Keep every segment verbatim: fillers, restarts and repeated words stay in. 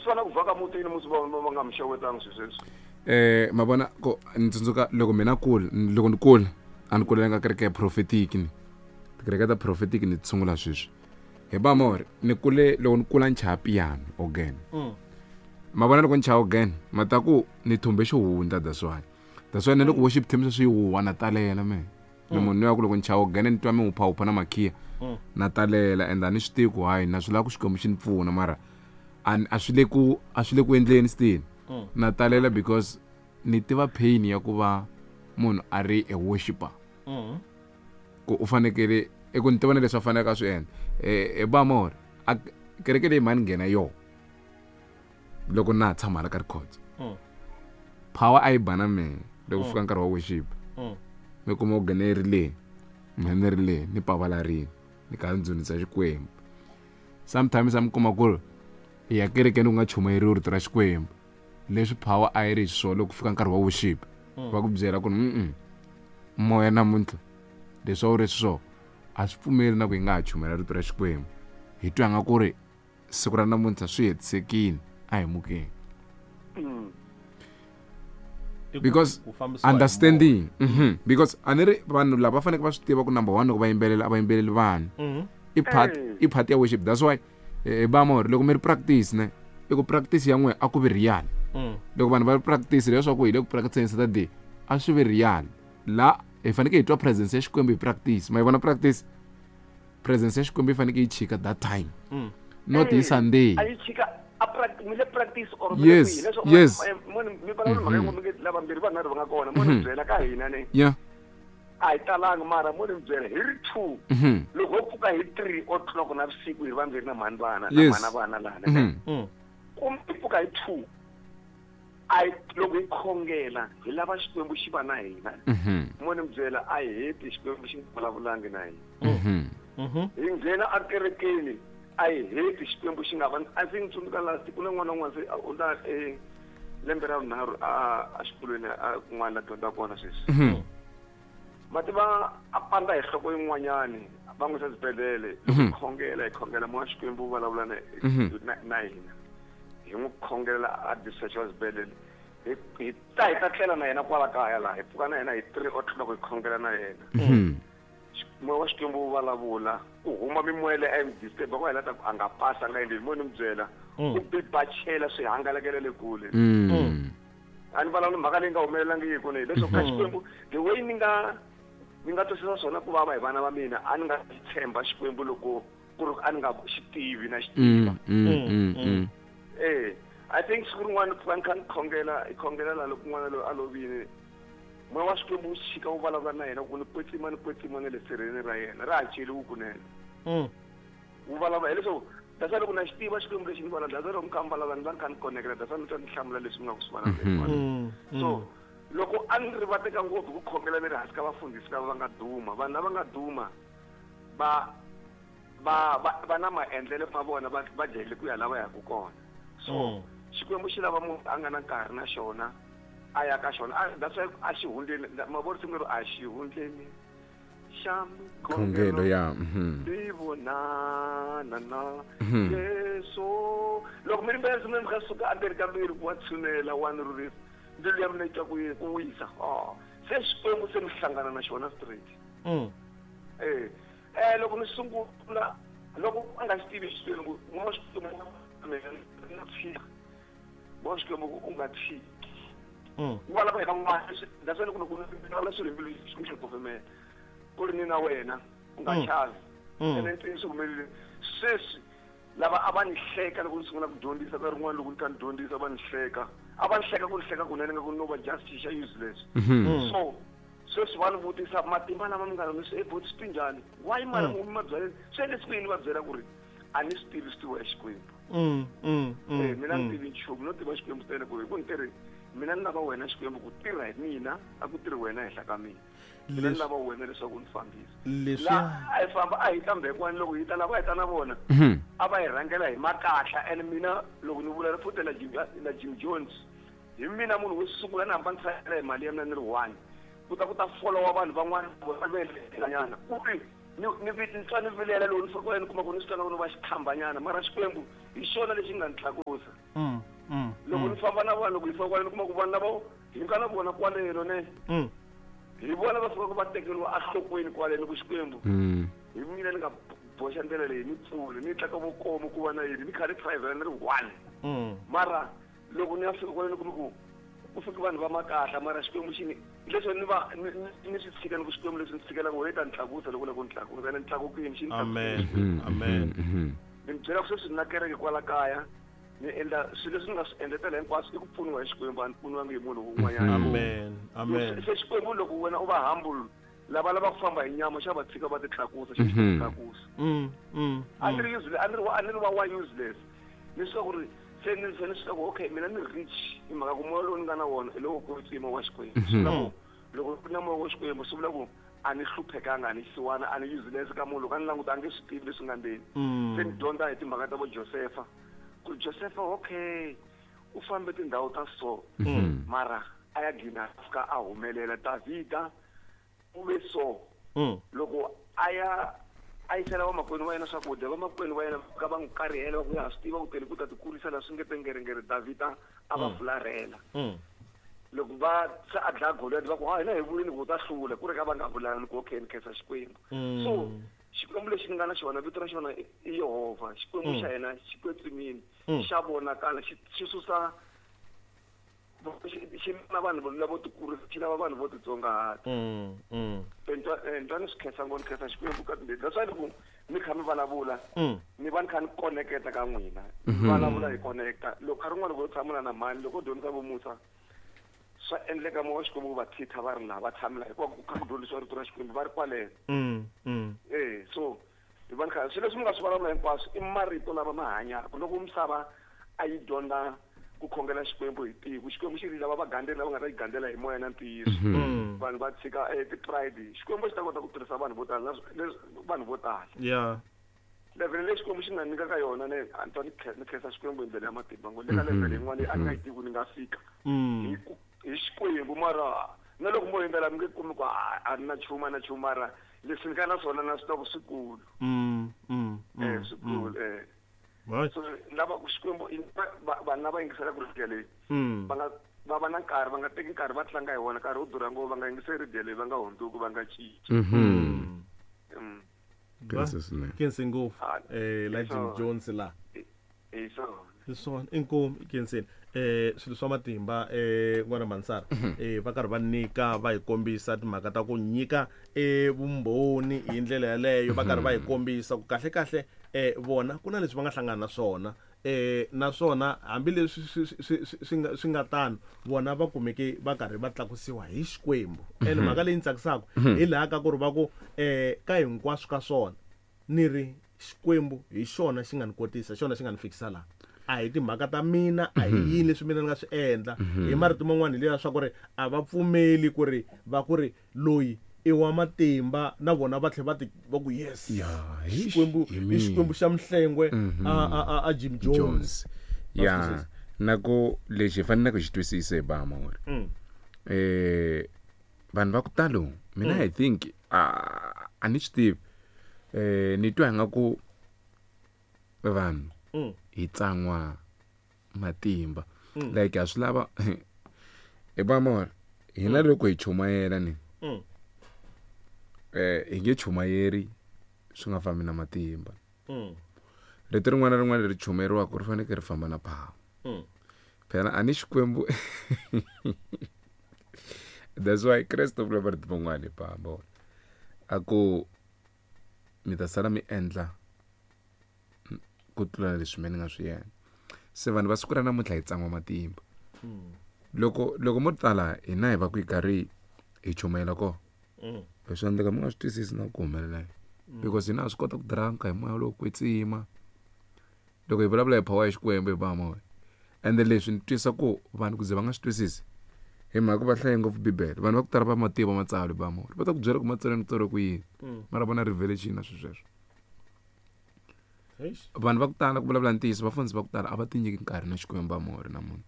Swi fana ku vhaka mutini musi va va nga mi xewetanga sweswi. Eh mavona ko ni tsundzuka loko mina kula loko ni kula a ni kulelanga kereke ya prophetic ni tikereke ta prophetic ni ti sungula sweswi hi ba more ni kule loko ni kula ni chaya piano organ mavona loko ni chaya organ mata ku ni thumbe xihundla that's why that's why na loko worship team sweswi yi huwa na talela me ni munhu ya ku loko ni chaya organ ni twa mi huphahupha na makhiya na talela and a ni swi tivi ku hayi na swi lava ku Xikwembu xi ni pfuna mara a a swi le ku a swi le ku endleni still na talela because ni tiva pain ya ku va munhu a ri a worshipper ku u fanekele i ku ni tiva na leswi a faneleke a swi endla eh ba more a kereke leyi mhani nghena yo loko na ha tshama hala ka records power a yi ba na mehe loko fika nkarhi wa worship mi kuma u nghene ri le mina ni ri le ni pavalarini ni karhi ni dzunisa Xikwembu sometimes a mi kuma ku ri hi ya kerekeni ku nga chumayeriwi rito ra Xikwembu leswi power a yi ri xiswona loko ku fika nkarhi wa worship va ku byela ku ri moya namuntlha leswi a wu ri xiswona a swi pfumeli na ku hi nga ha chumayela rito ra Xikwembu hi twa nga ku ri siku ra namuntlha swi hetisekile a hi mukeni because understanding mm-hmm. because a ni ri vanhu lava faneleke va swi tiva ku number one loko va yimbelela a va yimbeleli vanhu i part i part ya worship that's why eh ba more loko mi ri practice ne i ku practice ya n'we a ku vi real loko vanhu va ri practice leswaku hi le ku practice Saturday a swi vi real la hi fanekele hi twa presence ya Xikwembu hi practice ma yi vona practice presence ya Xikwembu yi fanekele yi chika that time not hi Sunday a yi chika a practice mi le practice or yes yes mi vulavula mhaka yin'we mi nge lavambirhi vanharhu va nga kona mo ni byela ka hina ne yeah a hi talanga mara mo ni byela hi ri two loko ho pfuka hi three o'clock na vusiku hi ri vambirhi na mhani vana na mhana vana lana ne kumbe hi pfuka hi two a loko hi khongela hi lava Xikwembu xi va na hina mo ni byela a hi heti Xikwembu xi nga vulavulangi na hina hi nghena ekerekeni a hi heti Xikwembu xi nga va a ndzi tsundzuka last ku na n'wana un'wana se u ta e lembe ra vunharhu a a xikolweni a kun'wana la dyondzaka kona sweswi ma tiva a pandza hi nhloko yin'wanyani va n'wi yisa exibedhlele loko hi khongela hi khongela moya Xikwembu wu vulavula na na hina hi n'wi khongela a discharge xibedhlele hi hi ta hi ta tlela na yena kwala kaya laha hi pfuka na yena hi three o'clock hi khongela na yena moya wa Xikwembu wu vulavula ku huma mimoya leyi a yi mi disturb ku hela ta ku a nga pasa a nga endli mo ni mi byela u bibachela swi hangalakela le kule a ni vulavuli mhaka leyi nga humelelangiki ne leswaku ka Xikwembu the way ni nga ni nga twisisa swona ku vava hi vana va mina a ni nga tshemba Xikwembu loko ku ri a ni nga xi tivi na xi tiva eh I think siku rin'wana pfuka ni kha ni khongela hi khongela la loko n'wana loyi a lovile moya wa Xikwembu wu chika wu vulavula na yena ku ni kwetsima ni kwetsima na le sirheni ra yena ra ha cheliwi kunene wu vulavula hileswaku that's loko na xi tiva Xikwembu lexi ni vulavula that's loko mi kha mi vulavula ni va ni kha ni connecta that's mi twa ni hlamula leswi mi nga ku swi vulavula so loko a ni rivateka ngopfu ku khongela ni ri hansi ka vafundhisi lava va nga duma vanhu lava nga duma va va va va na maendlelo ma vona va va jahele ku ya lava yaka kona so Xikwembu xi lava munhu a nga na nkarhi na xona a ya ka xona that's why a xi hundleni ma vona risimu leri a xi hundleni xa khongelo ya ni vonana na Yesu loko mi ri risimu leri mi kha suka endzeni ka mbilu ku wa tshunela wa ni rhurhisa mbilu ya mina yi twa ku ku wisa se Xikwembu se mi hlangana na xona straight eh eh loko ni sungula loko a nga xi tivi Xikwembu moya wa Xikwembu na tshika moya wa Xikwembu u nga tshiki wu vulavula hi van'wana that's why loko loko ni vulavula swilo hi mbilu Xikwembu xi kufumela ku ri ni na wena u nga chavi ene ntiyiso humelele sweswi lava a va ni hleka loko ni sungula ku dyondzisa ka rin'wana loko ni kha ni dyondzisa va ni hleka a va ni hleka ku ni hleka kunene nga ku no va just xa useless so sweswi va ni vutisa matimba lama mi nga na swi eboti swi njhani why mara mi ma byaleni swi endlesi ku yini va byela ku ri a ni swi tivi swi tiviwa hi Xikwembu eh mina ni tivi nchumu no tiva Xikwembu ntsena ku ri ku ni tirhi mina ni lava wena Xikwembu ku tirha hi mina a ku tirhi wena henhla ka mina mina ni lava wena leswaku ni fambisa la a hi famba a hi ta Mbekwana loko hi ta lava hi ta na vona a va hi rhangela hi makahla and mina loko ni vula futhi la Jim la Jim Jones hi mina munhu wo sungula ni hamba ni tsayela hi mali ya mina ni ri one ku ta ku ta followa vanhu van'wana va nyana ku ri Ni ni ni twa ni vilela loko ni fika kwaleni kuma ku ni swi twa na va xikhambanyana mara Xikwembu hi xona lexi nga ni tlakusa. Mm, mm, loko ni famba na vanhu loko hi fika kwaleni kuma ku vanhu lava hi nga na vona kwaleno ne mm. hi vona va fika ku va tekeriwa enhlokweni kwaleno ku Xikwembu Mm. hi mina ni nga boxa ndlela leyi ni pfule ni tlaka vokomo ku va na yini ni kha ni private ni ri one Mm. mara loko ni ya fika kwaleni kuma ku ku fika vanhu va makahla mara Xikwembu xi ni leswi ni va ni ni- ni swi tshika ni ku Xikwembu leswi ni tshikelaka wena ta ni tlakusa loko la ku ni tlakusa ene ni tlakukile xi ni Amen. tlakusile. Amen. Mhm. Ni mi byela ku sweswi ni na kereke kwala kaya ni endla swilo leswi ni nga swi endletela hinkwaswo i ku pfuniwa hi Xikwembu a ni pfuniwangi hi munhu wun'wanyana Amen. Amen. se Xikwembu loko wena u va humble lava lava ku famba hi nyama xa va tshika va ti tlakusa xi Mhm. tlakusa Mm, mm. a ni ri useless a ni ri wa a ni ri wa wa useless ni swi ku ri se ni se ni swi ku okay mina ni rich hi mhaka ku moya lowu ni nga na wona hi lowo kwetsima wa Xikwembu swi vula ku loko ku na moya wa Xikwembu swi vula ku a ni hluphekanga a ni siwana a ni useless ka munhu loko a ni languta a nge swi tivi leswi nga ndzeni Mm. se ni dyondza hi timhaka ta vo Josefa ku Josefa okay u fambe tindhawu ta so Mhm. mara a ya gina a fika a humelela Davhida u ve so Mm. loko a ya a yisela vamakwenu va yena swakudya vamakwenu va yena ka va n'wi karihela va ku ya ha swi tiva ku tele ku ta ti kurisa laha swi nge tengerengere Davhida a va fularhela Mm. loko va se a dlaya Goliath va ku ha hina hi vulini ku u ta hlula ku ri ka va nga vulani ku okay ni khensa Xikwembu Mm. so Xikwembu lexi ni nga na xona vito ra xona i i Yehovha Xikwembu xa hina xi kwetsimile xa vonakala xi xi susa xi xi na vanhu lavo tikurisa xi lava vanhu vo titsongahata Mm. Mm. ntwa ni swi khensa ngopfu ni khensa Xikwembu ka timbirhi that's why loko mi kha mi vulavula Mm. ni va ni kha ni connecta ka n'wina mi vulavula hi connecta loko nkarhi wun'wana loko yo tshamula na mhani loko u dyondzisa vomusa swa endleka moya wa Xikwembu ku va thitha va ri laha va tshami laha hikuva ku kha ku dyondzisiwa rito ra Xikwembu va ri kwaleno Mm. Mm. eh so hi va ni kha swilo leswi mi nga swi vulavula hinkwaswo i marito lama ma hanyaka loko misava a yi dyondza ku khongela Xikwembu hi tiko Xikwembu xi ri lava va gandzeli lava nga ta yi gandzela hi moya na ntiyiso Mm. vanhu va tshika eh, ti-pride Xikwembu xi ta kota ku tirhisa vanhu vo tala nas- leswi- vanhu vo tala Yeah. level leyi Xikwembu xi nga nyika ka yona ne a ni twa ni khe- ni khensa Xikwembu hi ndlela ya matimba ngo le ka level yin'wana leyi a ni nga yi tivi ku ni nga fika Mm. hi ku hi Xikwembu mara na loko mo yimbelela mi nge kumi ku a a ni na nchumu a na nchumu mara leswi ni nga na swona na swi tiva ku swikulu Mm. Mm. eh Mm. swikulu eh Right. so lava ku Xikwembu i- va- va- vanhu lava yingiselaka radio leyi Mm. va nga va va na nkarhi va nga teki nkarhi va tlanga hi wona nkarhi wo durha ngopfu va nga yingiseli radio leyi va nga hundzuki va nga cinci Mhm. Mm. Khensa swinene. Khensi ngopfu. Ah, Eh la Jim swona. Jones la. hi swona Hi swona inkomu i khenseni eh swilo swa matimba eh n'wana Mansara eh va karhi va nyika va hi kombisa timhaka ta ku nyika eh vumbhoni hi ndlela yaleyo va karhi va hi kombisa ku kahle kahle eh vona ku na leswi va nga hlangana na swona eh naswona hambileswi swi swi swi- swi nga swi nga tano vona va kumeke va karhi va tlakusiwa hi Xikwembu ene mhaka leyi ni tsakisaka hi laha ka ku ri va ku eh ka hinkwaswo ka swona ni ri Xikwembu hi xona xi nga ni kotisa xona xi nga ni fikisa laha a hi timhaka ta mina a hi yini leswi mina ni nga swi endla hi marito man'wana hi leya swa ku ri a va pfumeli ku ri va ku ri loyi i wa matimba na vona va tlhela va ti va ku yes Ya, hi Xikwembu hi i mina. Xikwembu xa Mhlengwe a a a a Jim Jones Jones ya na ku lexi hi faneleke xi twisisa hi bama uri Mm. eh vanhu va ku talo mina i think a a ni swi tivi eh ni twa nga ku vanhu Mm. hi tsan'wa matimba like a swi lava hi bama uri hina loko hi chumayela ni Mm. eh hi nge chumayeri swi nga fambi na matimba Mm. rito rin'wana na rin'wana leri chumayeriwaka ri fanekele ri famba na power Mm. phela a ni Xikwembu that's why Kreste u vula marito man'wani hi pamba a ku mi ta sala mi endla ku tlula leswi me ni nga swi endla se vanhu va siku ra namuntlha hi tsan'wa matimba loko loko mo tala hina hi va ku hi karhi hi chumayela kona Mm. swi endleka mi nga swi twisisi na ku humelela yini because hina ha swi kota ku dranka hi moya lowo kwetsima loko hi vulavula hi power ya Xikwembu hi ba moya ende leswi ni twisa ku vanhu ku ze va nga swi twisisi hi mhaka ku va hlaye ngopfu bibele vanhu va ku tala va mativa matsalwa hi ba moya va ta ku byela ku matsalwa ni tsariwe ku yini mara vona revelation na swilo sweswo Eish. vanhu va ku tala ku vulavula ntiyiso vafundhisi va ku tala a va tinyiki nkarhi na Xikwembu va moya na munhu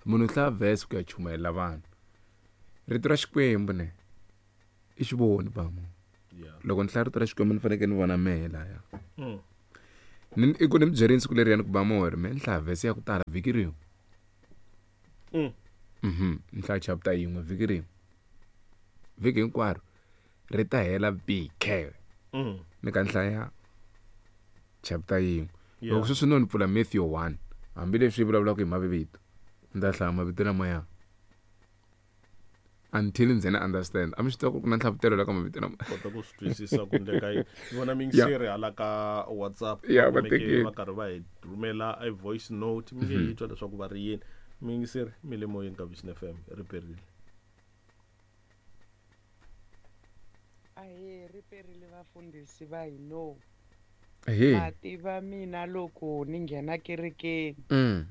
munhu u hlaya verse ku ya chumayela vanhu rito ra Xikwembu ne i xivoni ba munhu Loko ni hlaya rito ra Xikwembu ni fanekele ni vona mehe laya. Mm. Ni i ku ni mi byerini siku leriyani ku ba mori me ni hlaya vhesi ya ku tala vhiki rin'we. Mm. Mhm. Ni hlaya chapter yin'we vhiki rin'we. Vhiki hinkwaro ri ta hela vhiki. Mm. Ni ka ni hlaya chapter yin'we. Loko sweswi no ni pfula Matthew one hambileswi yi vulavulaka hi mavito ni ta hlaya mavito lamaya until ndzi na understand. A mi swi tiva ku ku na nhlavutelo la ka mavito lama kota ku swi twisisa ku endleka yini. Ni vona miyingiseri hala ka WhatsApp Yeah, va tekile. va karhi va hi rhumela a voice note mi nge yi twa leswaku va ri yini. Miyingiseri mi le moyeni ka Vision F M ri perile. Ahee, ri perile vafundhisi va hino. Ahee. Ma tiva mina loko ni nghena kerekeni Mm.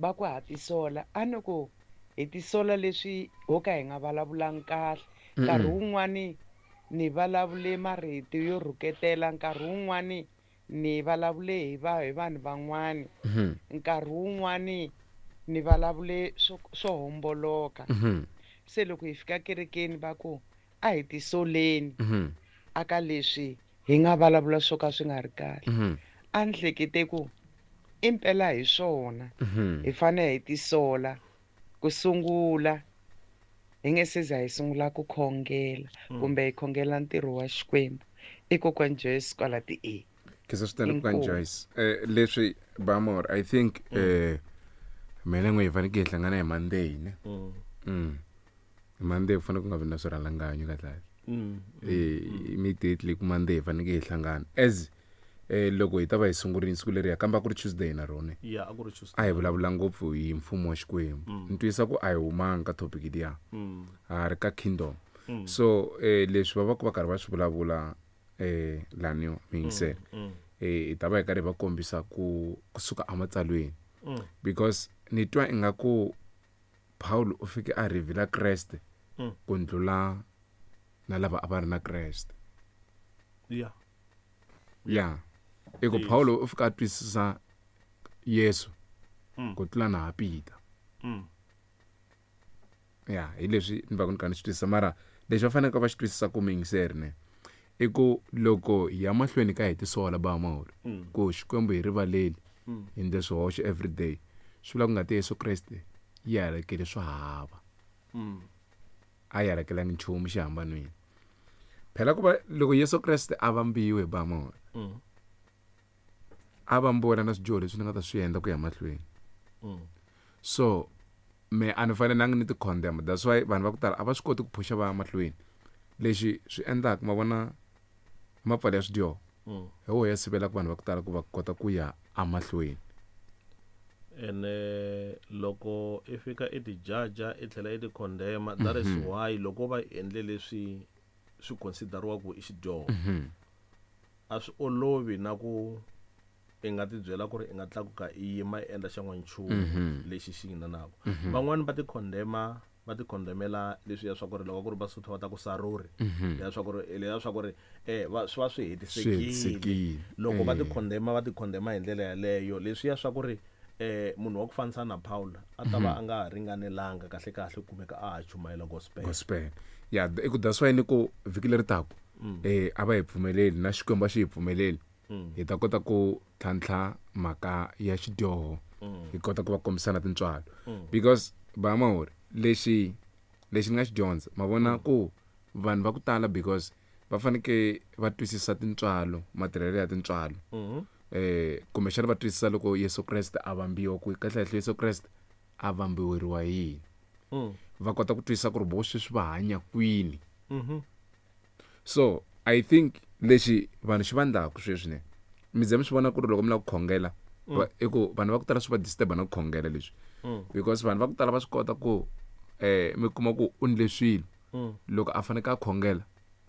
va ku ha tisola a ni ku hi tisola leswi ho ka hi nga vulavulangi kahle. Mm-mm. Nkarhi wun'wani ni vulavule marito yo rhuketela, nkarhi wun'wani ni vulavule hi va hi vanhu van'wani, Mhm. nkarhi wun'wani ni vulavule swo, swo homboloka. Mhm. Se loko hi fika kerekeni va ku a hi tisoleni Mhm. aka leswi hi nga vulavula swo ka swi nga ri kahle. Mhm. A ni hlekete ku impela hi swona Mhm. hi fanele hi tisola ku sungula hi nge se za hi sungula ku khongela Mm. kumbe hi khongela ntirho wa Xikwembu. I kokwani Joyce kwala ti E. Khensa swinene kokwani Inkomu. Joyce. Eh, leswi Bamor, I think eh mina n'we hi fanekele hi hlangana hi Monday ne. Mm. Mm. Hi Monday ku fanele ku nga vi na swirhalanganyo kahle kahle. Mm. Eh, immediately ku Monday hi fanekele hi hlangana as eh loko hi ta va hi sungurile siku leriya kambe a ku ri Tuesday na rona. Yeah, a ku ri Tuesday. A hi vulavula ngopfu hi mfumo wa Xikwembu. Mm. Ni twisisa ku a hi humanga ka topic liya. Mm. Ha ri ka kingdom. Mm. So eh leswi va va ku va karhi va swi vulavula eh laniwa miyingiselo. Mm. Mm. Eh hi ta va hi karhi hi va kombisa ku kusuka ematsalweni. Mm. Because ni twa ingaku Paul u fike a reveal Kreste Mm. ku ndlula na lava a va ri na Kreste. Yeah. Yeah. I ku Yes. Paulo u fika a twisisa Yesu Mm. ku tlula na ha Peter. Mm. Yeah, hi leswi ni va ku ni kha ni swi twisisa mara lexi va faneleke va xi twisisa ku miyingiseri ne i ku loko hi ya mahlweni ka hi tisola ba mahori Mm. ku Xikwembu hi rivaleli Mm. hi endle swihoxo everyday swi vula ku ngati ya Yesu Kreste yi halakele swa hava. Mm. A yi halakelangi nchumu xihambanweni. Phela ku va loko Yesu Kreste a vambiwe hi ba mahori Mm. a vambiwa na swidyoho leswi ni nga ta swi endla ku ya mahlweni. Mm. So me a ni fanelanga ni ti condemn. That's why vanhu va ku tala a va swi koti ku phusha va ya mahlweni. Lexi swi endlaka ma vona mapfalo ya swidyoho Mm. hi woho ya sivelaka vanhu va ku tala ku va kota ku ya emahlweni. Ene loko i fika i ti jaja i tlhela i ti condemn, that is Mhm. why loko va endle leswi swi consideriwaka i xidyoho Mhm. a swi olovi na ku i nga ti byela ku ri i nga tlakuka i yima i endla xan'wana nchumu Mhm. lexi xi yinanaka. Mhm. Van'wani va ti condemn, va ti condemnela leswiya swa ku ri loko ku ri Vasotho va ta ku saruri, Mhm. ya swa ku ri leswiya swa ku ri, eh, va, swi va swi Swi hetisekile. hetisekile. Loko va ti Eh. condemn, va ti condemn hi ndlela yaleyo, leswiya swa ku ri, eh, munhu wa ku fanisa na Paul a ta va Mhm. a nga ha ringanelanga kahle kahle ku kumeka a ha chumayela gospel. Gospel. Yeah, i ku that's why ni ku vhiki leri taka, Mm. eh, a va hi pfumeleli na Xikwembu a xi hi pfumeleli. Mm. Hi ta kota ku tlhantlha mhaka ya xidyoho. Mm. Hi kota ku va kombisana tintswalo. Mm. Because ba mahori lexi lexi ni nga xi dyondza, ma vona Mm. ku vanhu va ku tala because va fanekele va twisisa tintswalo, matirhelo ya tintswalo. Mm-hmm. Eh, kumbexana va twisisa loko Yesu Kreste a vambiwa ku kahle kahle Yesu Kreste a vambiweriwa yini. Mm. Va kota ku twisisa ku ri vo sweswi va hanya kwini. Mm-hmm. So I think lexi vanhu xi va endlaku sweswi ne mi ze mi swi vona ku ri loko mi lava ku khongela, Mm. va, i ku vanhu va ku tala swi va disturb na ku khongela leswi. Mm. Because vanhu va ku tala va swi kota ku, eh, mi kuma ku u ndle swilo. Mm. Loko a fanekele a khongela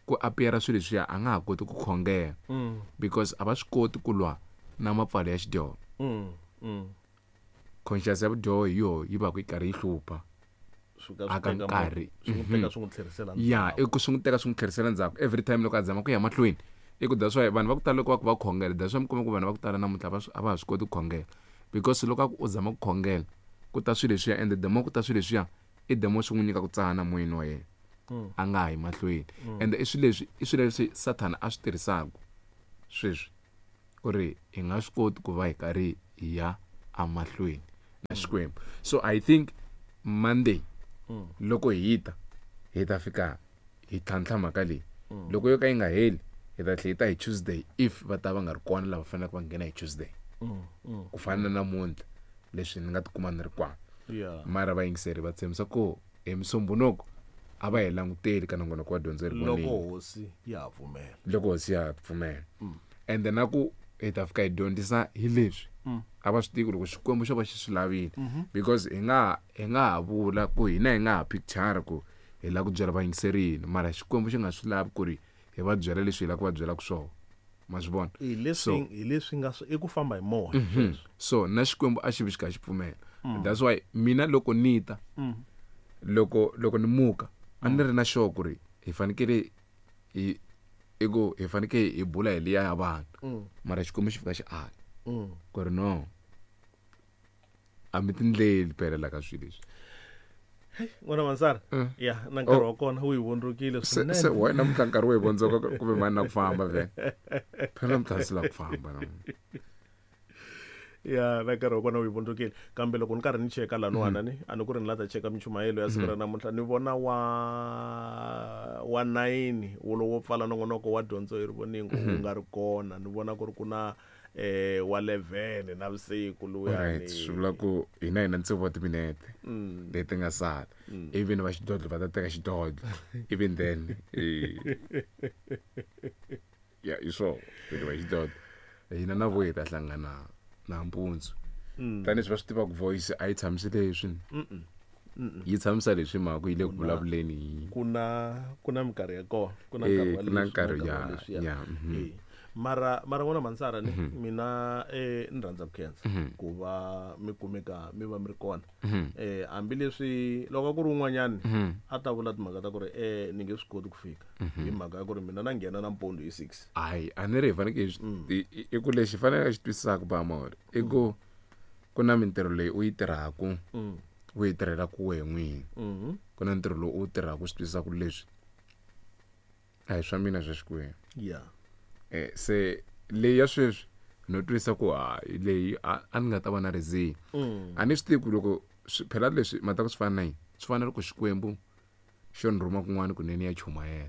ku appear swilo leswiya a nga ha koti ku khongela. Mm. Because a va swi koti ku lwa na mapfalo ya xidyoho. Mm. Mm. Conscience ya vudyoho hi yoho yi va ku yi karhi yi hlupha. Swi ka swi Aka teka nkarhi. swi n'wi teka swi n'wi tlherisela Ya, ndzhaku. i ku swi n'wi teka swi n'wi tlherisela ndzhaku every time loko a zama ku ya mahlweni. I ku that's why vanhu va ku tala loko va ku va khongela, that's why mi kuma ku vanhu va ku tala namuntlha va swi, a va ha swi koti ku khongela. Because loko a ku u zama ku khongela, ku ta swilo leswiya, and the more ku ta swilo leswiya, i the more swi n'wi nyika ku tsana moyeni wa yena. a nga ha yi mahlweni. Ende i swilo leswi i swilo leswi Sathana a swi tirhisaka sweswi ku ri hi nga swi koti ku va hi karhi hi ya emahlweni na Xikwembu. So I think Monday loko hi ta hi ta fika hi tlhantlha mhaka leyi. Loko yo ka yi nga heli hi ta tlhela hi ta hi Tuesday if va ta va nga ri kona lava faneleke va nghena hi Tuesday. Ku fana na namuntlha leswi ni nga tikuma ni ri kwana. Mara vayingiseri va tshembisa ku hi Musumbhunuko a va hi languteli ka nongonoko wa dyondzo ri vonile. Loko hosi ya pfumela. Loko hosi ya pfumela. And then na ku hi ta fika hi dyondzisa hi leswi a va swi tivi loko Xikwembu xo va xi swi lavile. Because hi nga hi nga ha vula ku hina hi nga ha picture ku hi lava ku byela vayingiseri yini, mara Xikwembu xi nga swi lavi ku ri hi va byela leswi hi lava ku va byelaka swona. Ma swi vona? Hi leswi hi leswi nga i ku famba hi moya. So na Xikwembu a xi vi xi kha xi pfumela. That's why mina loko ni ta loko loko ni muka a ni ri na sure ku ri hi fanekele hi i ku hi fanekele hi bula hi liya ya vanhu. Mara Xikwembu xi fika xi ala ku ri no a mi tindleli phela la ka swilo leswi. N'wana Mansara, ya na nkarhi wa kona wu hi vondzokile swinene. Se wena namuntlha nkarhi wu hi vondzoka kumbe mani na ku famba vhele. Phela namuntlha swi lava ku famba namuntlha. Ya na nkarhi wa kona wu hi vondzokile. Kambe loko ni karhi ni cheka laniwana ni a ni ku ri ni la ta cheka minchumayelo ya siku ra namuntlha ni vona wa wa nine wolowo pfala nongonoko wa dyondzo hi rivoningo wu nga ri kona. Ni vona ku ri ku na eh wa eleven na vusiku luya. Right, swi vula ku hina hina tsevu wa timinete leti nga sala. Even va xidodlo va ta teka xidodlo. Even then ya i swo va xidodlo hina na vo hi ta hlangana nampundzu. Tanihi va swi tiva ku voice a yi tshamisi leswi. Yi tshamisa leswi mhaka ku yi le ku vulavuleni. Ku na ku na minkarhi ya kona, ku na nkarhi wa ku na nkarhi ya ya. Mara mara n'wana Mansara ni mina eh ni rhandza ku khensa ku va mi kumeka mi va mi ri kona. Eh hambileswi loko ku ri un'wanyani a ta vula timhaka ta ku ri eh ni nge swi koti ku fika hi mhaka ya ku ri mina na nghena nampundzu hi six. Hayi a ni ri hi fanekele i ku lexi faneleke xi twisisaka ba mori i ku ku na mintirho leyi u yi tirhaka u yi tirhelaka wehe n'wini. Ku na ntirho lowu u wu tirhaka u swi twisisaka leswi a hi swa mina swa Xikwembu. Yeah. Eh se leyi ya sweswi no twisa ku ha leyi a ni nga ta va na reason. A ni swi tivi ku loko phela leswi mata ku swi fana na yini, swi fana na loko Xikwembu xo ni rhuma kun'wana kunene ya chumayela.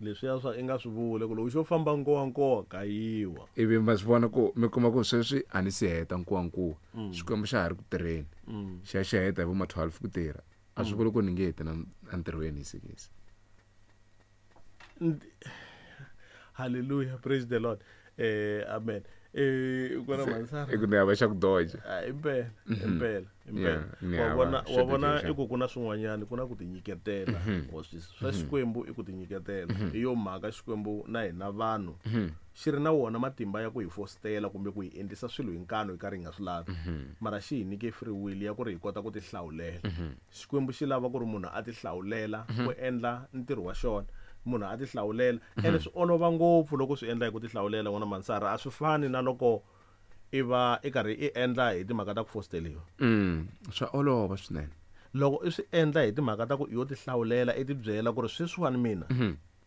Leswiya swa i nga swi vule ku loko xo famba nkowankowa ka yiwa. Ivi ma swi vona ku mi kuma ku sweswi a ni si heta nkowankowa. Xikwembu xa ha ri ku tirheni. Xi ya xi heta hi vo ma twelve ku tirha. A swi vuli ku ni nge heti na entirhweni hi six. Hallelujah, praise the Lord. Eh amen. Eh n'wana Mansara. I ku ni hava xa ku doja. Impela, impela, impela. Wa vona wa vona i ku ku na swin'wanyana ku na ku tinyiketela. Wa swi swa Xikwembu i ku tinyiketela. Hi yo mhaka Xikwembu na hina vanhu xi ri na wona matimba ya ku hi fostela kumbe ku hi endlisa swilo hi nkano hi karhi hi nga swi lavi. Mara xi hi nyike free will ya ku ri hi kota ku tihlawulela. Xikwembu xi lava ku ri munhu a tihlawulela ku endla ntirho wa xona. Munhu a tihlawulela ene swi olova ngopfu loko swi endla hi ku tihlawulela n'wana Mansara. A swi fani na loko i va i karhi i endla hi timhaka ta ku fosteliwa. Swa olova swinene loko i swi endla hi timhaka ta ku yo tihlawulela i tibyela ku ri sweswiwani mina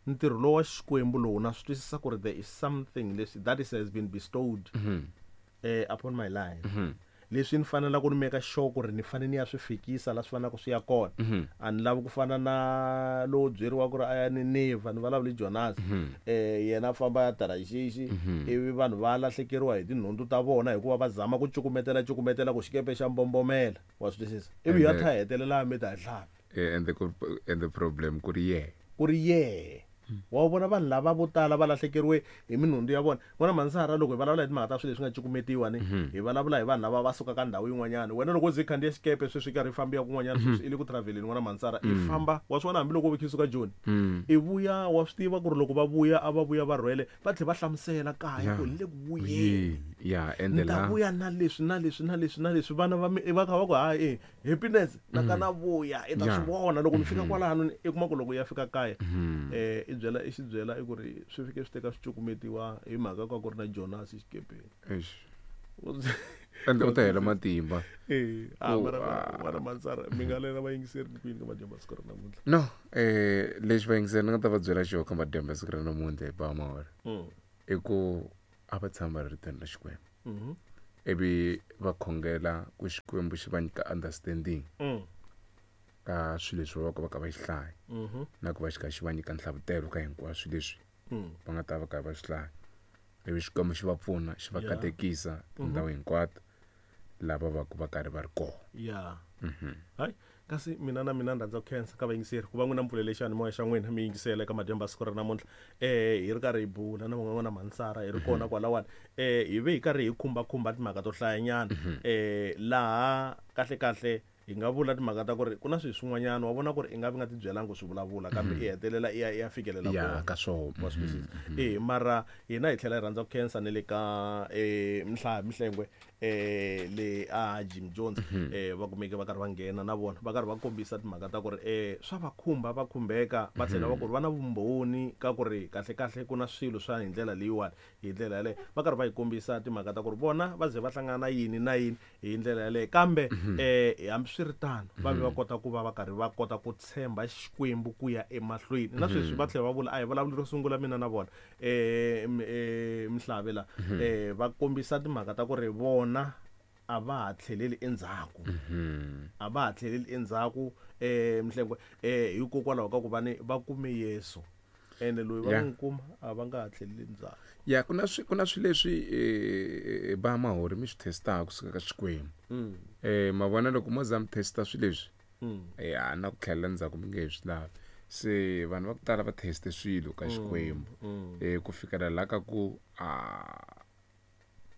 ntirho lowu wa Xikwembu lowu na swi twisisa ku ri there is something leswi that is has been bestowed eh upon my life. Leswi ni fanela ku ni meka sure ku ri ni fanele ni ya swi fikisa la swi fanelaka swi ya kona. A ni lavi ku fana na lowo byeriwa ku ri a ya Nineveh ni vulavuli Jonas. Eh yena a famba ya Tarashishi ivi vanhu va lahlekeriwa hi tinhundzu ta vona hikuva va zama ku cukumetela cukumetela ku xikepe xa mbombomela. Wa swi twisisa? Ivi ya tha hetelela mi ta hlapi. And the and the problem ku ri yehe. Ku ri yehe. Wa vona vanhu lava vo tala va lahlekeriwe hi minhundzu ya vona. N'wana Mansara loko hi vulavula hi timhaka ta swilo leswi nga cukumetiwa ni hi vulavula hi vanhu lava va suka ka ndhawu yin'wanyana. Wena loko u ze khandziya xikepe sweswi karhi i famba ya kun'wanyana sweswi i le ku traveleni n'wana Mansara i famba wa swi vona hambiloko u vekile suka Joni i vuya wa swi tiva ku ri loko va vuya a va vuya va rhwele va tlhela va hlamusela kaya ku hi le ku vuyeni. Ya ende la vuya na leswi na leswi na leswi na leswi vana va va kha va ku hayi happiness na kana vuya i ta swi vona loko ni fika kwalano i kuma ku loko ya fika kaya eh i byela i xi byela i ku ri swi fike swi teka swi cukumetiwa hi mhaka ka ku ri na Jonas xikepeni. Eish. Ende u ta hela matimba. Eh, a Ku, mara ah. mara Mansara mi nga lela vayingiseri ku yini ka madyambu ya siku ra namuntlha. No, eh lexi vayingiseri ni nga ta va byela xona ka madyambu ya siku ra namuntlha hi ba mahore. Mm. I ku a va tshama va ri ritweni ra Xikwembu. Mhm. Ivi va khongela ku Xikwembu xi va nyika understanding Mm. ka swilo leswi va va ka va ka va xi hlaya. Mhm. Na ku va xi kha xi va nyika nhlavutelo ka hinkwaswo leswi Mm. va nga ta va karhi va swi hlaya. Ivi Xikwembu xi va pfuna, xi va Yeah. katekisa tindhawu hinkwato lava va ku va karhi va ri kona. Ya. Hayi, kasi mina na mina ni rhandza ku khensa ka vayingiseri ku va n'wina mi pfulele xiyanimoya xa n'wina mi yingisela eka madyambu ya siku ra namuntlha. Eh hi ri karhi hi bula na van'wana Mansara hi ri kona kwalawani. Eh hi ve hi karhi hi khumbakhumba timhaka to hlayanyana. Eh laha kahle kahle hi nga vula timhaka ta ku ri ku na swilo swin'wanyana wa vona ku ri i nga vi nga ti byelanga ku swi vulavula kambe i hetelela i ya i ya fikelela Ya kona. ka swona. Wa swi twisisa. Eh mara hina hi tlhela hi rhandza ku khensa ne le ka eh Mhla Mhlengwe eh le a Jim Jones eh va kumeke va karhi va nghena na vona va karhi va kombisa timhaka ta ku ri eh swa va khumba va khumbeka va tlhela va ku ri va na vumbhoni ka ku ri kahle kahle ku na swilo swa hi ndlela leyiwani hi ndlela yaleyo va karhi va hi kombisa timhaka ta ku ri vona va ze va hlangana na yini na yini hi ndlela yaleyo kambe eh hambiswiritano va ve va kota ku va va karhi va kota ku tshemba Xikwembu ku ya emahlweni na sweswi va tlhela va vula a hi vulavuli ro sungula mina na vona eh m- eh Mhlave la eh va kombisa timhaka ta ku ri vona a va ha tlheleli endzhaku. A va ha tlheleli endzhaku eh Mhlengwe eh hikokwalaho ka ku va ni va kume Yesu ene loyi va Yeah. n'wi kuma a va nga ha tlheleli endzhaku. Ya ku na swi ku na swilo leswi eh ba mahori mi swi testaka kusuka ka Xikwembu. Mm. Eh ma vona loko mo za mi testa swilo leswi Mm. eh a na ku tlhelela ndzhaku mi nge he swi lavi. Se vanhu va ku tala va teste swilo ka Xikwembu. Mm. Eh ku fikela la ka ku a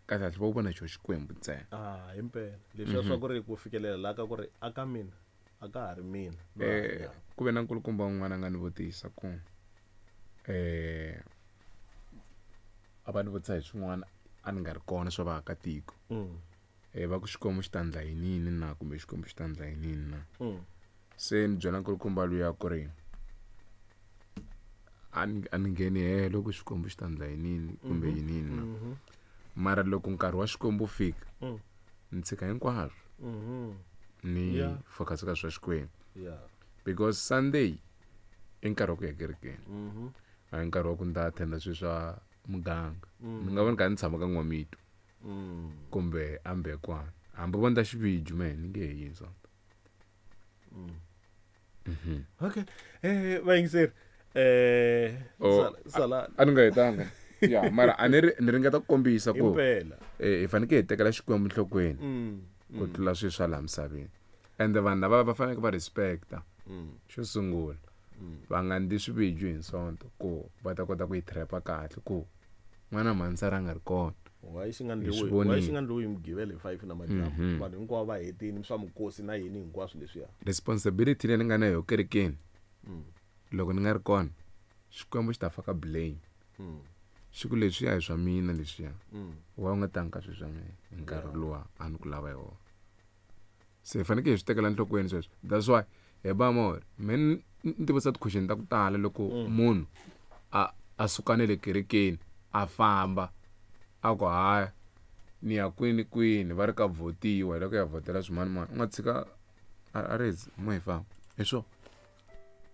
kahle kahle va vona xo Xikwembu ntsena. Ah himpela leswiya swa ku ri ku fikelela la ka ku ri a ka mina a ka ha ri mina loyi a Eh hanyaka. ku ve na nkulukumba un'wana a nga ni vutisa ku eh a va ni vutisa hi swin'wana a ni nga ri kona swa vaakatiko. Mm. Eh va ku Xikwembu xi ta endla yinini na kumbe Xikwembu xi ta endla yinini na. Mm. Se ni byela nkulukumba luya ku ri a ni a ni ngheni helo ku Xikwembu xi ta endla yinini kumbe yinini na. Mhm. Mara loko nkarhi wa Xikwembu wu fika Mm. ni tshika hinkwaswo Mhm. ni Yeah. focus ka swa Xikwembu. Yeah. Because Sunday i nkarhi wa ku ya kerekeni. Mhm. A hi nkarhi wa ku ni ta attend-a swilo swa muganga. Ni nga va ni kha ni tshama ka N'wamito Mm. kumbe a Mbekwana. Hambi vo ndla xiviju mehe ni nge he yi Sonto. Okay. Eh vayingiseri eh Oh, sala sala A ni nga hetanga. Ya, mara a ni ri ni ringeta ku kombisa ku himpela. eh hi fanekele hi tekela Xikwembu enhlokweni Mm. ku tlula swilo swa laha misaveni. Ende vanhu lava va faneleke va respect-a. Mm. Xo sungula va nga ndli swiviju hi Sonto ku va ta kota ku yi trap-a kahle ku n'wana Mansara a nga ri kona. Why xi nga Hi swi ndliwi vonile. why xi nga ndliwi hi Mugqivela hi five na madyambu vanhu hinkwavo va hetini swa mikosi na yini hinkwaswo leswiya. Responsibility leyi ni nga na yona kerekeni loko ni nga ri kona Xikwembu xi ta faka blame. Mm. Xi ku leswiya hi swa mina leswiya. Mm. Wa u nga tangi ka swilo swa mina hi nkarhi luwa a ni ku lava hi wona. Se hi fanekele hi swi tekela enhlokweni sweswo. That's why hi ba mahori me ni ni tivutisa ti-question ta ku tala loko munhu a a suka na le kerekeni a famba a ku haya ni ya kwini kwini va ri ka votiwa hi loko ya vhotela swimanimani u nga tshika a a ri mo hi famba hi swona.